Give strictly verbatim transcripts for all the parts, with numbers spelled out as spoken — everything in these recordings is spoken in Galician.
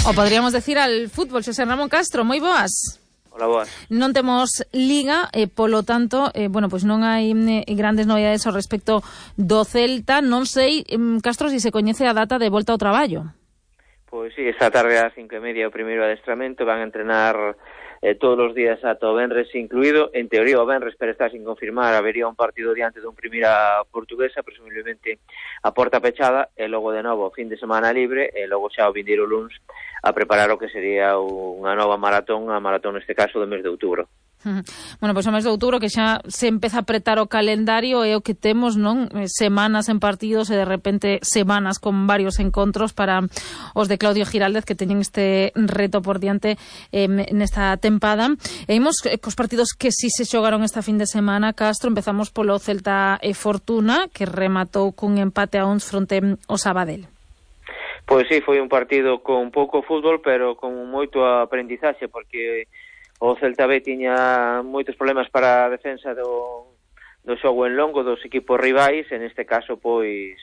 O podríamos decir al fútbol. Xosé Ramón Castro, moi boas. Hola, boas. Non temos liga, e polo tanto, eh, bueno, pois non hai eh, grandes novidades ao respecto do Celta. Non sei, eh, Castro, se se coñece a data de volta ao traballo. Pois sí, esta tarde ás cinco e media o primeiro adestramento, van a entrenar eh, todos os días ata o venres incluído. En teoría o venres, pero está sin confirmar, habería un partido diante dun primeira portuguesa, presumiblemente a porta pechada, e logo de novo fin de semana libre, e logo xa o vindeiro luns a preparar o que sería unha nova maratón, a maratón neste caso do mes de outubro. Bueno, pois o mes de outubro que xa se empeza a apretar o calendario, é o que temos, non? Semanas en partidos e de repente semanas con varios encontros para os de Claudio Giraldez, que teñen este reto por diante eh, nesta tempada. E imos cos partidos que si se xogaron esta fin de semana, Castro. Empezamos polo Celta e Fortuna, que rematou cun empate a uns fronte ao Sabadell. Pois sí, foi un partido con pouco fútbol, pero con moito aprendizaxe, porque o Celta B tiña moitos problemas para a defensa do, do xogo en longo dos equipos rivais. En este caso, pois,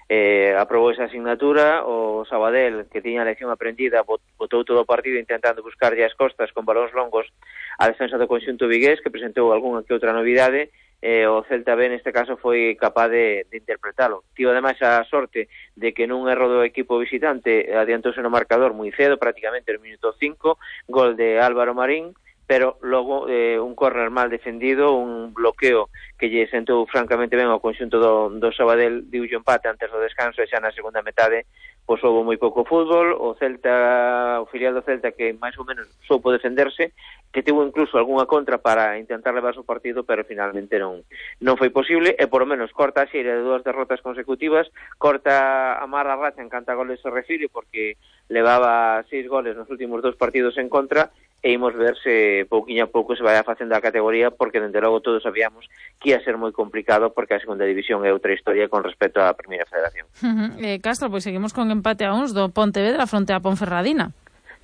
eh, aprobou esa asignatura. O Sabadell, que tiña a lección aprendida, botou todo o partido intentando buscarlle as costas con balóns longos a defensa do conxunto vigués, que presentou algunha que outra novidade. Eh, o Celta B neste caso foi capaz de, de interpretalo. Tivo ademais a sorte de que nun erro do equipo visitante adiantouse no marcador moi cedo, prácticamente no minuto cinco, gol de Álvaro Marín, pero logo eh, un córner mal defendido, un bloqueo que lle sentou francamente ben ao conxunto do, do Sabadell, diulle empate antes do descanso, e xa na segunda metade pois houve moi pouco fútbol. O Celta, o filial do Celta, que máis ou menos soupo defenderse, que tivo incluso algunha contra para intentar levar o partido, pero finalmente non non foi posible, e por lo menos corta a xeira de dúas derrotas consecutivas, corta a mala racha en canta goles se refire, porque levaba seis goles nos últimos dous partidos en contra, e imos ver se pouquiño a pouco se vai facendo a categoría, porque dende logo todos sabíamos que ia ser moi complicado, porque a segunda división é outra historia con respecto á primeira federación. Uh-huh. eh, Castro, pois seguimos con empate a uns do Pontevedra fronte a Ponferradina.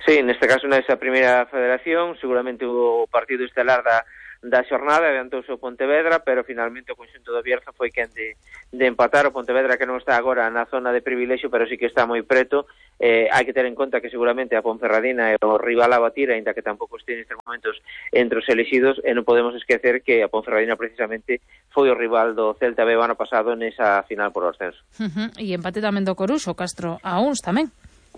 Sí, neste caso nesa primeira federación, seguramente o partido estelar da, da xornada, adiantouse o Pontevedra, pero finalmente o conxunto do Bierzo foi quen de, de empatar. O Pontevedra, que non está agora na zona de privilexio, pero sí que está moi preto. Eh, hai que ter en conta que seguramente a Ponferradina é o rival a batir, ainda que tampouco este nestes momentos entre os elexidos, e non podemos esquecer que a Ponferradina precisamente foi o rival do Celta B o ano pasado nesa final por ascenso. Uh-huh. E empate tamén do Coruxo, Castro, a uns tamén.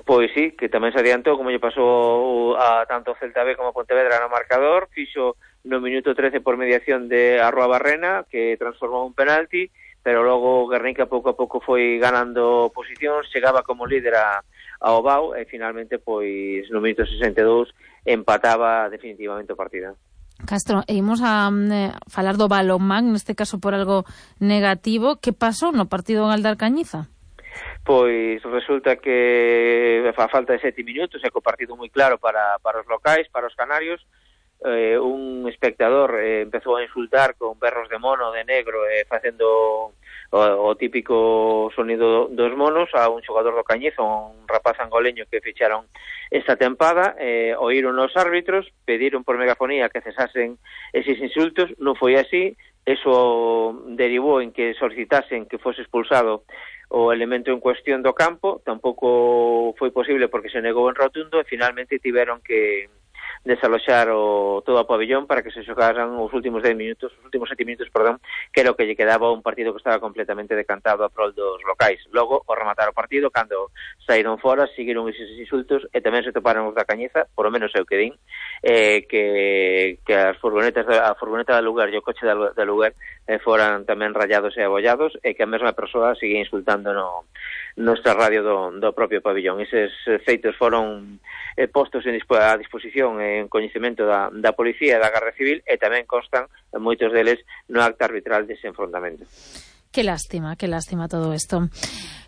Pois sí, que tamén se adiantou, como lle pasou a tanto Celta B como a Pontevedra no marcador. Fixo no minuto trece por mediación de Arroa Barrena, que transformou un penalti, pero logo Guernica pouco a pouco foi ganando posicións, chegaba como líder a, a Obao, e finalmente, pois, no minuto sesenta e dous empataba definitivamente o partido. Castro, e imos a eh, falar do balonmán, neste caso por algo negativo. Que pasou no partido en Galdar Cañiza? Pois resulta que a falta de sete minutos, é co partido moi claro para, para os locais, para os canarios. Eh, un espectador eh, empezou a insultar con berros de mono, de negro, eh, facendo o, o típico sonido dos monos a un xogador do Cañizo, un rapaz angoleño que ficharon esta tempada. Eh, oíron os árbitros, pediron por megafonía que cesasen eses insultos. Non foi así, eso derivou en que solicitasen que fose expulsado o elemento en cuestión do campo. Tampouco foi posible porque se negou en rotundo, e finalmente tiveron que desaloxar o todo o pabellón para que se xogaran os últimos dez minutos, os últimos sete minutos, perdón, que era o que lle quedaba un partido que estaba completamente decantado a prol dos locais. Logo, ao rematar o partido, cando saíron fora, seguiron eses insultos, e tamén se toparon os da Cañiza, por lo menos eu que din, eh, que, que as furgonetas, a furgoneta da lugar e o coche da, da lugar eh, foran tamén rayados e abollados, e que a mesma persoa sigue insultando no, no radio do, do propio pabellón. Eses feitos foron eh, postos en dispo, a disposición en coñecemento da, da policía e da Garda Civil, e tamén constan moitos deles no acta arbitral dese enfrontamento. Que lástima, que lástima todo isto.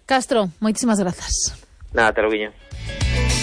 Castro, moitísimas grazas. Nada, te lo guiño.